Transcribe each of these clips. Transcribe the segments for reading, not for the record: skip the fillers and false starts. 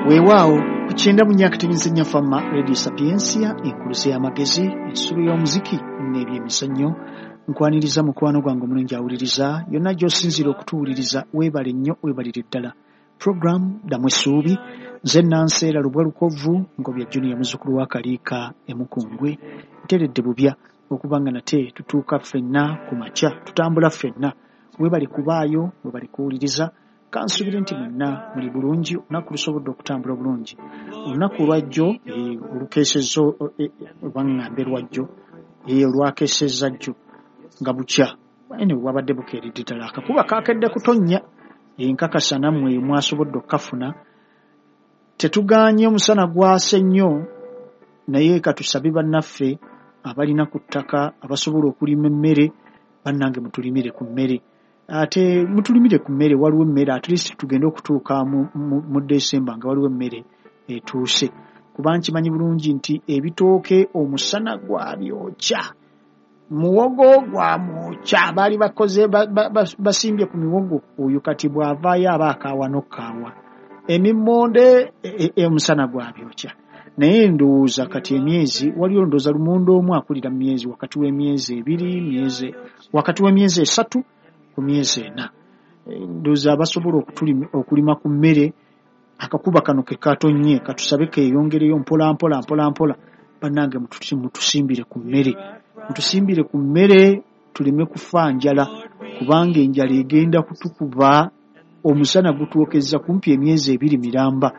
Weewaawo ku 94.4 Fama Radio Sapientia, enkuluze y'amagezi, ensulo y'omuziki n'ebyemizannyo. Nkwaniriza mukwano gwange omulungi awuliriza yonna gy'osinziira okutuwuliriza, weebale nnyo, weebalire ddala. Program Ddamu Essuubi, nze Nanseera Lubwa Lukovvu Ngobya Junior, muzzukulu wa Kaliika e Mukungwe. Nteredde bubya okuba nga nate tutuuka ffenna ku makya, tutambula ffenna. Weebale kubaayo, weebale kuwuliriza. Kansubire nti mwenna muli bulungi, olunaku lusobodde okutambula obulungi. Olunaku olwajjo olukeesezza, oba ŋŋambe lwajjo, olwakeesezza jjo nga bukya, anyway bwabadde bukeeredde ddala, akakuba kaakedde kutonnya. Enkakasa nammwe mwasobodde okukafuna. Tetugaanye omusana gwase nnyo, naye katusabe bannaffe abalina ku ttaka abasobola okulima emmere, bannange mutulimire ku mmere. Ate mutulimire ku mmere, waliwo emmere, at least tugende okutuuka mu December nga waliwo emmere etuuse. Kuba nkimanyi bulungi nti ebitooke omusana gwabyokya, muwogo gwamwokya, baali bakoze basimbye ku miwogo, oyo kati bw'avaayo aba akaawa n'okkaawa. Emimmonde omusana gwabyokya. Naye ndowooza kati emyezi, waliwo ndowooza lumonde omu akulira mu myezi wakati w'emyezi 2, myezi wakati w'emyezi 3 ku myezi 4. Ndowooza abasobola okulima ku mmere, akakuba kano ke katonnye, katusabe keeyongereyo mpola mpola mpola mpola. Bannange mutusimbire ku mmere, mutusimbire ku mmere tuleme kufa njala, kubanga enjala egenda kutukuba. Omusana gutwokezza kumpi emyezi 2 miramba,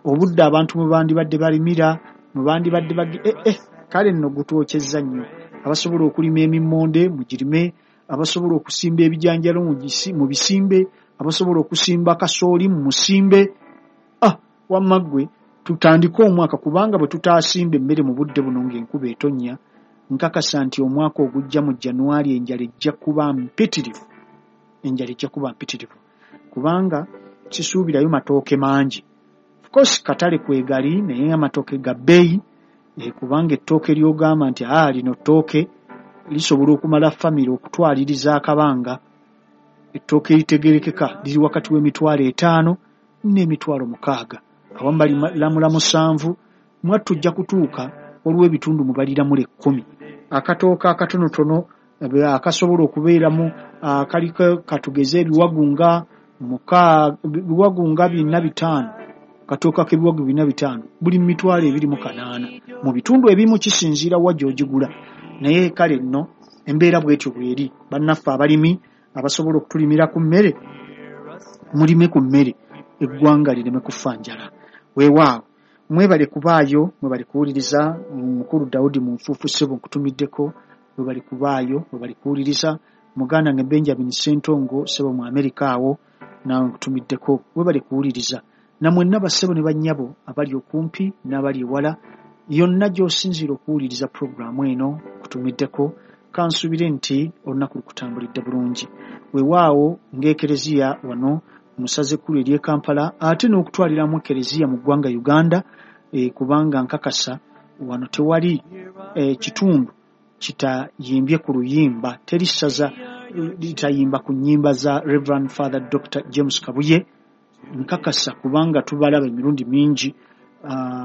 obudde abantu mwe bandibadde balimira, mwe bandibadde kale nno gutwokyezza nnyo. Abasobola okulima emimmonde mugirime, abasobola okusimba ebijanjalo mubisimbe, abasobola okusimba kasooli mumusimbe. Wamma ggwe tutandike omwaka, kubanga bwe tutaasimba emmere mu budde buno ng'enkuba etonnya, nkakasa nti omwaka ogujja mu January enjala ejja kuba mpitirivu. Enjala ejja kuba mpitirivu, kubanga kisuubirayo matooke mangi. Of course katale kwegali, naye amatooke ga bbeeyi, kubanga ettooke ly'ogamba nti lino ttooke lisobola okumala famire okutwaliriza akabanga. Ettooke eritegerekeka liri wakati w'emitwalo 5 n'emitwalo 6, awamu baliramula 7. Mwattu ojja kutuuka waliwo ebitundu mwe baliramula 10. Akatooke akatonotono akasobola okubeeramu kaliko katugeze ebiwagu nga biwagu nga 4 5, katooke ak'ebiwagu 4 5 buli mitwalo 28 mu bitundu ebimu, kisinziira wa gy'ogigula. Naye kale nno embeera bw'etyo bw'eri. Bannaffe abalimi abasobola okutulimira ku mmere, mulime ku mmere, eggwanga lireme kufa njala. Weewaawo mwebale kubaayo, mwebale kuwuliriza. Mukulu Daudi mu nfuufu ssebo nkutumiddeko, mwebale kubaayo, mwebale kuwuliriza. Muganda nge Benjamin Ssentongo ssebo mu Amerika awo naawe nkutumiddeko, mwebale kuwuliriza. Namwenna bassebo ne bannyabo abali okumpi n'abali ewala, yonna gy'osinziira okuwuliriza pulogulaamu eno nkutumiddeko. Kansuubire nti olunaku lukutambulidde bulungi. Weewaawo ng'ekereziya wano mu ssaza ekkulu ery'e Kampala, ate n'okutwaliramu ekereziya mu ggwanga Uganda, kubanga nkakasa wano tewali kitundu kitayimbye ku luyimba, teri ssaza litayimba ku nnyimba za Reverend Father Dr. James Kabuye. Nkakasa kubanga tubalaba emirundi mingi,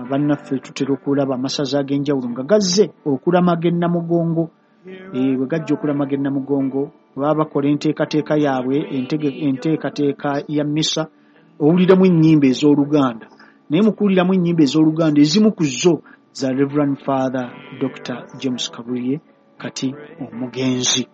bannaffe tutera okulaba amasaza ag'enjawulo nga gazze okulamaga e Namugongo. Bwe gajja okulamaga e Namugongo, baba bakola enteekateeka yaabwe, enteekateeka ya mmisa, owuliramu ennyimba ez'Oluganda. Naye mu kuwuliramu ennyimba ez'Oluganda, ezimu ku zo za Reverend Father Dr. James Kabuye kati omugenzi.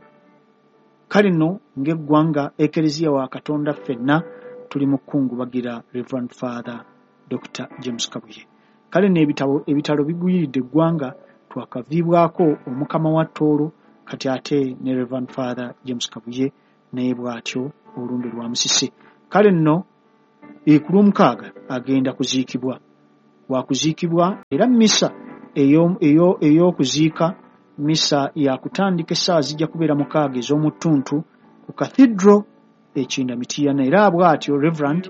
Kale nno ng'eggwanga, Ekereziya wa Katonda ffenna tuli mu kukungubagira Reverend Father Dr. James Kabuye. Kale nno ebitalo biguyiridde eggwanga, twakaviibwako Omukama wa Tooro, kati ate ne Reverend Father James Kabuye naye bw'atyo olumbe lwamusise. Kale nno ku Lwomukaaga agenda kuziikibwa, wakuziikibwa era mmisa ey'okuziika, mmisa yakutandika essaawa zijja kubeera 6 ez'omuttuntu ku Cathedral e Kinda Mityana. Era bw'atyo Reverend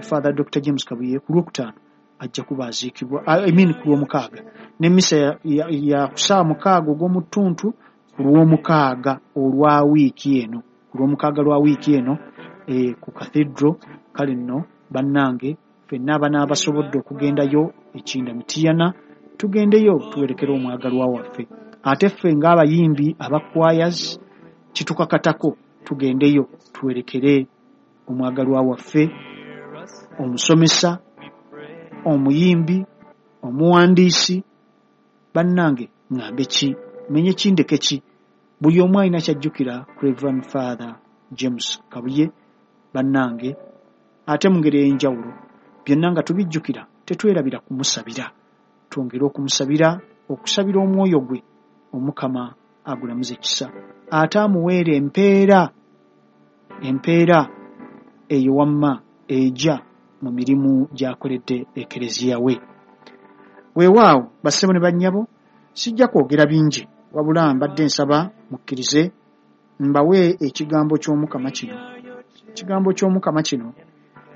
Father Dr. James Kabuye ku Lwokutaano ajja kuba aziikibwa, I mean ku Lwomukaaga, n'emmisa ya ku ssaawa 6 ogw'omuttuntu ku Lwomukaaga olwa wiiki eno, ku Lwomukaaga lwa wiiki eno ku Cathedral. Kale nno bannange Ffenna abanaabasobodde okugendayo ekinda Mitiyana, tugendeyo tuwerekere omwagalwa waffe. Ate ffe ng'abayimbi aba choirs kitukakatako tugendeyo tuwerekere omwagalwa waffe, omusomesa, omuyimbi, omuwandiisi. Bannange ŋŋambe ki, menye ki, ndeke ki? Buli omu alina ky'ajjukira ku Reverend Father James Kabuye. Bannange ate mu ngeri ey'enjawulo byonna nga tubijjukira, tetwerabira kumusabira, twongere okumusabira, okusabira omwoyo gwe Omukama agulamuze kisa, ate amuweere empeera eyo wamma ejja mu mirimu gy'akoledde Ekereziya we. Weewaawo bassebo ne bannyabo, sijja kwogera bingi, wabula mbadde nsaba mukkirize mbawe ekigambo ky'Omukama kino. Ekigambo ky'Omukama kino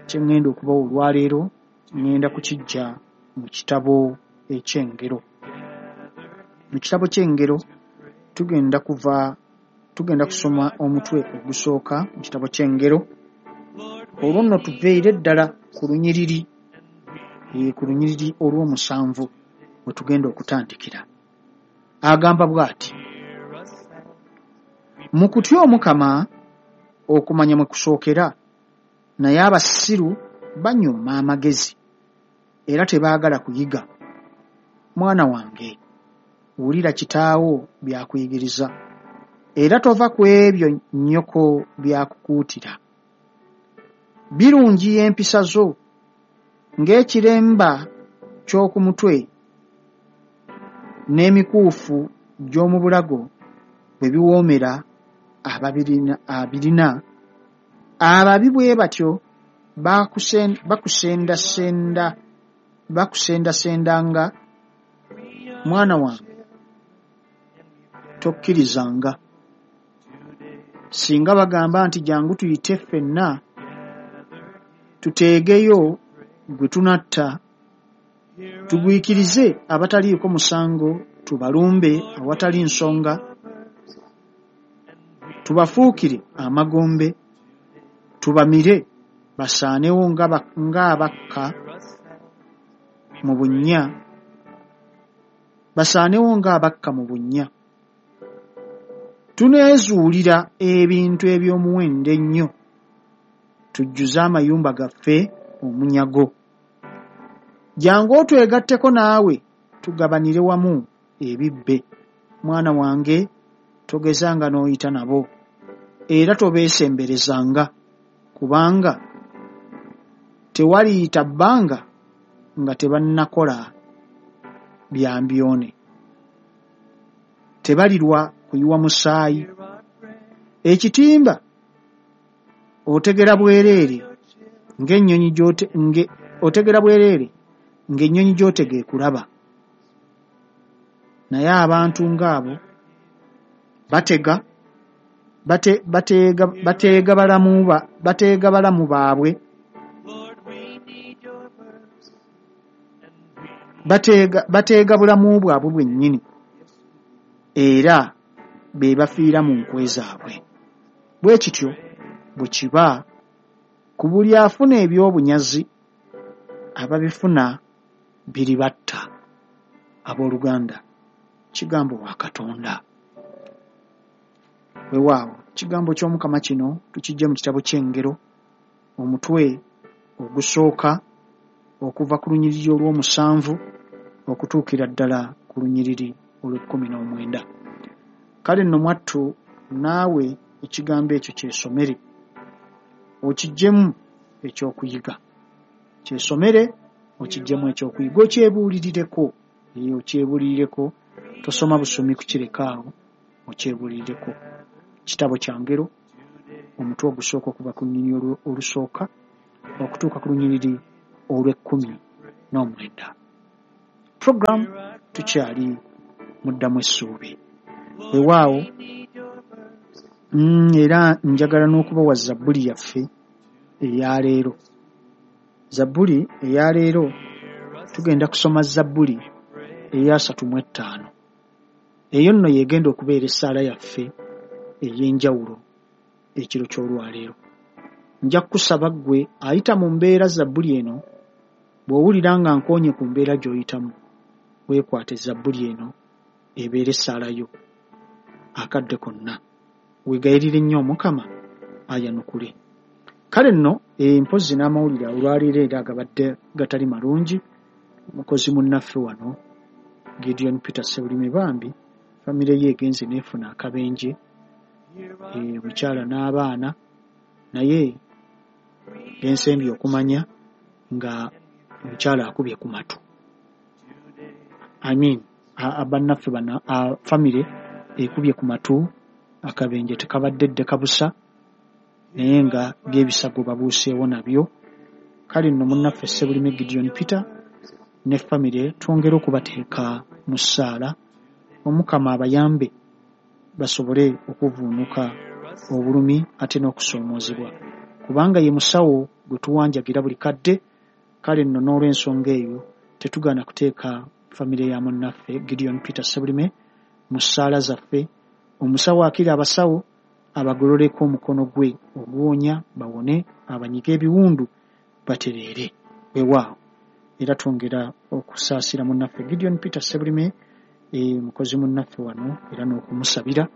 kye ŋŋenda okubawa olwaleero, ŋŋenda kukiggya mu kitabo eky'Engero. Mu kitabo ky'Engero tugenda kusoma omutwe ogusooka mu kitabo ky'Engero, olwo nno tuveere ddala ku lunyiriri olw'omusanvu we tugenda okutandikira. Agamba bw'ati: mu kutya Omukama okumanya mwe kusookera, naye abasiru banyooma amagezi era tebaagala kuyiga. Mwana wange, wulira kitaawo by'akuyigiriza, era tova ku ebyo nnyoko by'akukuutira. Birungiya empisa zo ng'ekiremba ky'oku mutwe n'emikuufu gy'omu bulago bwe biwoomera abirina. Ababi bwe batyo bakusendasendanga. Mwana wange, tokkirizanga. Singa bagamba nti jangu tuyite ffenna tuteegeyo gwe tunatta, tugwikirize abataliiko musango, tubalumbe awatali nsonga, tubafuukire amagombe, tubamire basaanewo ng'abakka mu bunnya, basaanewo ng'abakka mu bunnya. Tuneezuulira ebintu eby'omuwendo ennyo, tujjuze amayumba gaffe omunyago. Jangu otwegatteko naawe, tugabanire wamu ebibbe. Mwana wange, togezanga n'oyita nabo, era tobeesemberezanga, kubanga tewaliyita bbanga nga tebannakola bya mbyone. Tebalirwa kuyiwa musaayi. Ekitimba otegera bwereere ng'ennyonyi gy'otega ekulaba. Naye abantu ng'abo bateega balamu baabwe, bateega bulamu bwabwe bwennyini, era be bafiira mu nkwe zaabwe. Bwe kityo bwe kiba ku buli afuna eby'obunyazi, ababifuna biribatta. Abooluganda, kigambo wa Katonda. Weewaawo ekigambo ky'Omukama kino tukijje mu kitabo ky'Engero, omutwe ogusooka okuva ku lunyiriri olw'omusanvu okutuukira ddala ku lunyiriri olw'ekkumi n'omwenda. Kale nno mwattu naawe ekigambo ekyo kyesomere, okiggyemu ekyokuyiga. Kyesomere okiggyemu ekyokuyiga, okyebuulirireko. Okyebuulirireko, tosoma busomi kukireka awo, okyebuulirireko. Kitabo kya Ngero, omutwe ogusooka okuva ku lunyiriri olusooka okutuuka ku lunyiriri olw'ekkumi n'omwenda. Program tukyali muddamu essuubi. Weewaawo era njagala n'okubawa zabbuli yaffe eya leero. Zabbuli eya leero tugenda kusoma zabbuli eya 35. Eyo nno y'egenda okubeera essaala yaffe ey'enjawulo ekiro ky'olwaleero. Nja kukusaba ggwe ayita mu mbeera zabbuli eno Bw'owulira nga nkoonye ku mbeera gy'oyitamu, weekwate zabbuli eno ebeere essaala yo akadde konna. Weegayirire nnyo Omukama ayanukule. Kale nno mpozzi n'amawulire olwaleero era agabadde gatali malungi, mukozi munnaffe wano Gideon Peter Ssebulime bambi famire ye egenze n'efuna akabenje, omukyala n'abaana, naye gensembye okumanya nga omukyala akubye ku matu. I mean, bannaffe bano famire ekubye ku matu, akabenje tekabadde ddeka busa, naye nga by'ebisago babuuseewo nabyo. Kale nno munnaffe Ssebulime Gideon Peter ne famire twongere okubateeka mu ssaala, Omukama abayambe basobole okuvvuunuka obulumi ate n'okusoomoozebwa, kubanga ye musawo gwe tuwanjagira buli kadde. Kale nno n'olw'ensonga eyo tetugaana kuteeka famire ya munnaffe Gideon Peter Ssebulime mu ssaala zaffe. Omusawo akira abasawo abagololeko omukono gwe oguwonya bawone, abanyige ebiwundu batereere. Weewaawo era twongera okusaasira munnaffe Gideon Peter Ssebulime, mukozi munnaffe wano, era n'okumusabira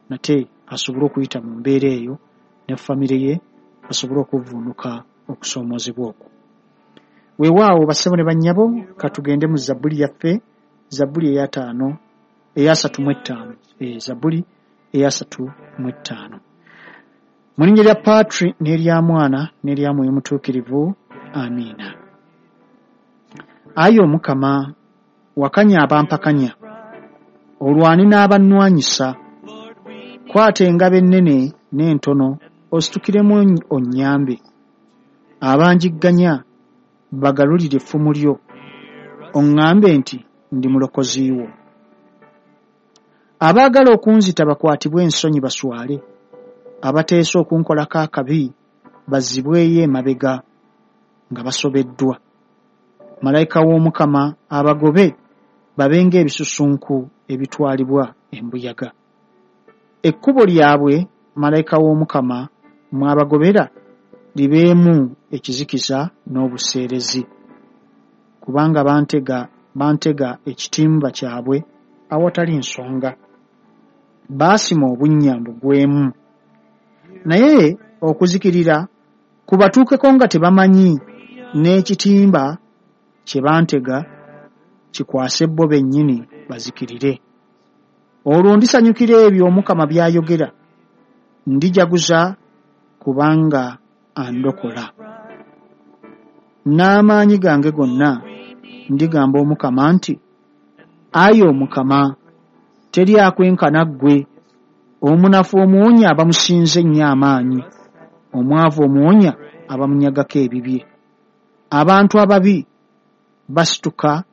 nate asobole okuyita mu mbeera eyo ne famire ye basobole okuvvuunuka okusoomoozebwa okwo. Weewaawo bassebo ne bannyabo, katugende mu zabbuli yaffe, zabbuli ey'ataano, ey'asatu mu ttaano, zabbuli ey'asatu mu ttaano. Mu linnya lya Patri n'erya Mwana n'erya Mwoyo Mutuukirivu, amiina. Ayi Omukama, wakanya abampakanya, olwane n'abannwanyisa. Kwata engabo ennene n'entono ositukiremu onnyambe. Abanjigganya bagalulire effumu lyo, oŋŋambe nti ndi mulokozi wo. Abaagala okunzita bakwatibwe ensonyi baswale, abateesa okunkolako akabi bazzibweyo emabega nga basobeddwa. Malayika w'Omukama abagobe babe ng'ebisusunku ebitwalibwa embuyaga. Ekkubo lyabwe malayika w'Omukama mw'abagobera libeemu ekizikiza n'obuseerezi, kubanga bantega ekitimba kyabwe awatali nsonga, baasima obunnya mbugwemu. Naye okuzikirira kubatuukeko nga tebamanyi, n'ekitimba kye bantega kikwase bo bennyini bazikirire. Olwo ndisanyukira ebyo Omukama by'ayogera, ndijaguza kubanga andokola. N'amaanyi gange gonna ndigamba Omukama nti, Ayi Omukama, teri akwenkana ggwe, omunafu omuwonya abamusinze ennyo amaanyi, omwavu omuwonya abamunyagako ebibye. Abantu ababi basituka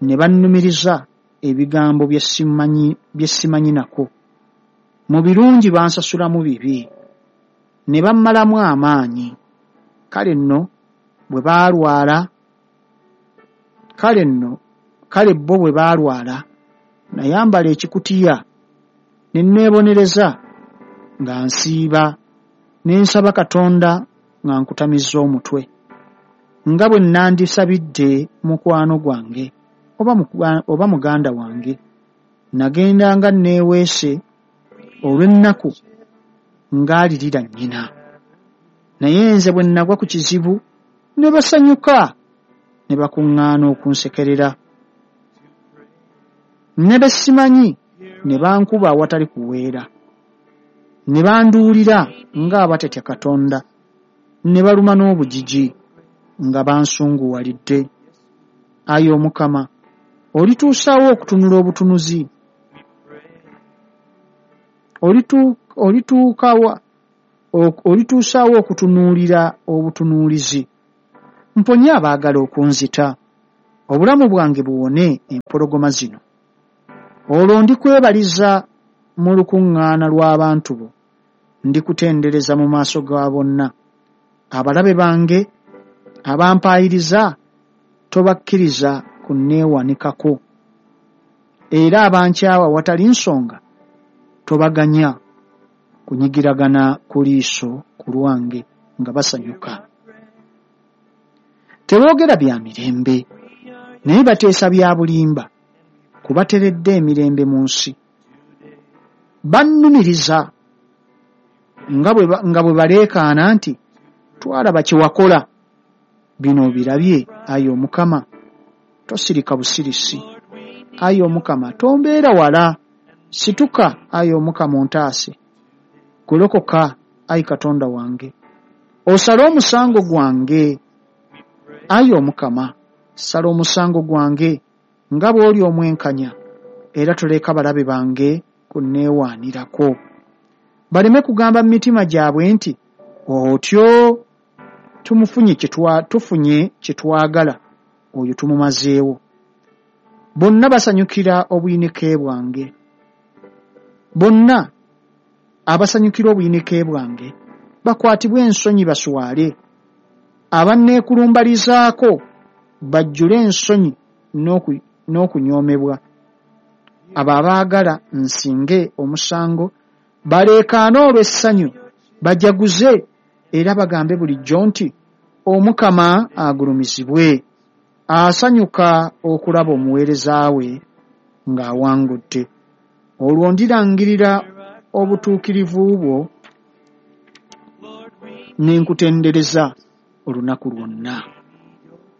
ne bannumiriza ebigambo bye simanyi nako. Mu birungi bansasulamu bibi, ne bammalamu amaanyi. Kale nno bo bwe baalwala, nayambala ekikutiya ne neebonereza nga nsiiba, ne nsaba Katonda nga nkutamizza omutwe, nga bwe nandisabidde mukwano gwange oba muganda wange. Nagenda nga neeweese olw'ennaku ng'alirira nnyina. Naye nze bwe nagwa ku kizibu ne basanyuka, ne bakuŋŋaana okunsekerera. Ne be simanyi ne bankuba awatali kuweera, ne banduulira ng'abatatya Katonda, ne baluma n'obujiji nga bansunguwalidde. Ayi Omukama, olituusaawo okutunula obutunuzi? Olituusaawo okutunuulira obutunuulizi? Mponye abaagala okunzita, obulamu bwange buwone empologoma zino. Olwo ndikwebaliza mu lukuŋŋaana lw'abantu bo, ndikutendereza mu maaso ga bonna. Abalabe bange abampaayiriza tobakkiriza kunneewanikako, era abankyawa awatali nsonga tobaganya kunyigiragana ku liiso ku lwange nga basanyuka. Teboogera bya mirembe, naye bateesa bya bulimba, kubateredde emirembe mu nsi. Bannumiriza nga bwe baleekaana nti, twalaba kye wakola. Bino obirabye, ayi Omukama, tosirika busirisi. Ayi Omukama, tombeera wala. Situka, ayi Omukama, ontaase. Golokoka, ayi Katonda wange, osale omusango gwange. Ayi Omukama, sala omusango gwange nga bw'oli omwenkanya, era toleka balabe bange kunneewaanirako. Baleme kugamba mu mitima gyabwe nti, otyo tufunye kye twagala, oyo tumumazeewo. Bonna basanyukira obuyinike bwange. Bonna abasanyukira obuyinike bwange bakwatibwe ensonyi baswale. Abanneekulumbalizaako bajjule ensonyi n'okunyoomebwa. Abo abaagala nsinge omusango baleekaane olw'essanyu, bajaguze era bagambe bulijjo nti, Omukama agulumizibwe, asanyuka okulaba omuweereza we ng'awangudde. Olwo ndirangirira obutuukirivu bwo ne nkutendereza olunaku lwonna.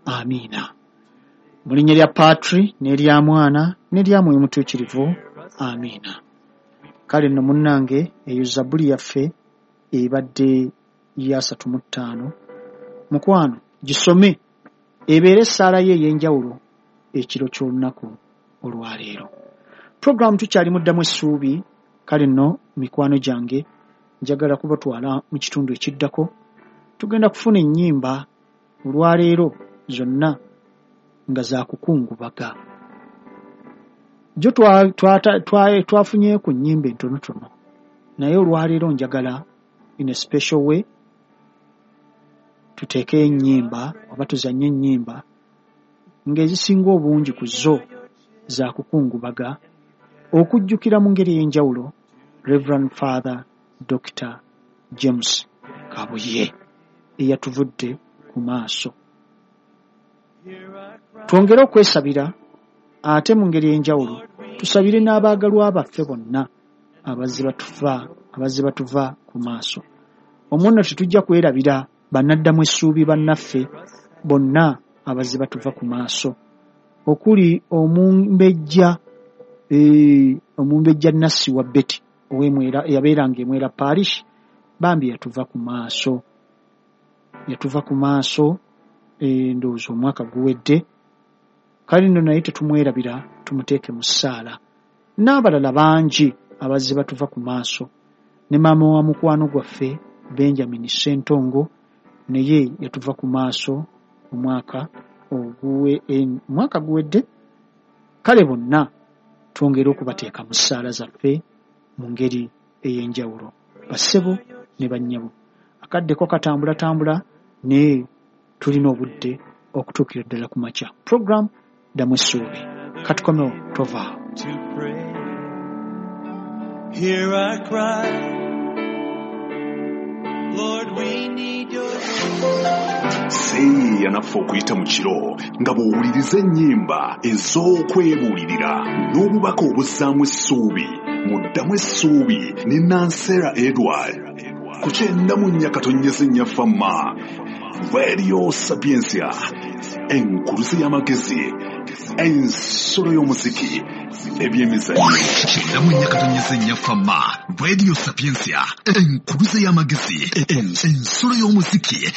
Amiina. Mu linnya lya Patri n'erya Mwana n'erya Mwoyo Mutuukirivu. Amiina. Kale nno munnange, eyo zabbuli yaffe ebadde ya 35. Mukwano, gisome ebeere essaala ye ey'enjawulo ekiro ky'olunaku olwaleero. Puroguramu tukyali muddamu essuubi. Kale nno mikwano gyange, njagala kubatwala mu kitundu ekiddako. Tugenda kufuna ennyimba olwaleero zonna nga za kukungubaga. Jo twafunye ku nnyimba entonotono, naye olwaleero njagala in a special way tuteekeyo ennyimba oba tuzannye ennyimba ng'ezisinga obungi ku zo za kukungubaga, okujjukira mu ngeri ey'enjawulo Reverend Father Dr. James Kabuye eyatuvudde ku maaso. Twongere okwesabira, ate mu ngeri ey'enjawulo tusabire n'abaagalwa baffe bonna abazze batuva ku maaso. Omwo nno tetujja kwerabira bannaddamu essuubi bannaffe bonna abazze batuva ku maaso, okuli omumbejja Nassi wa Betty ow'Emwera, eyabeeranga Emwera Parish, bambi yatuva ku maaso. Yatuva ku maaso ndowooza omwaka guwedde. Kale nno naye tetumwerabira, tumuteeke mu ssaala. N'abalala bangi abazze batuva ku maaso, ne maama wa mukwano gwaffe Benjamin Ssentongo naye yatuva ku maaso omwaka guwedde. Kale bonna twongere okubateeka mu ssaala zaffe mu ngeri ey'enjawulo, bassebo ne bannyabo. Akaddeko katambulatambula, naye tulina obudde okutuukira ddala ku makya. Program Ddamu Essuubi. Katukomewo, tovaawo. Hear our cry, Lord, we need your Seeyeeya naffe okuyita mu kiro nga bw'owuliriza ennyimba ez'okwebuulirira n'obubaka obuzzaamu essuubi mu Ddamu Essuubi ne Nansera Edward ku 94.4 Fama Radio Sapientia, enkuluze y'amagezi, ensolo y'omuziki, ebyemizannyo. 94.4 Fama Radio Sapientia, enkuluze y'amagezi, ensolo y'omuziki.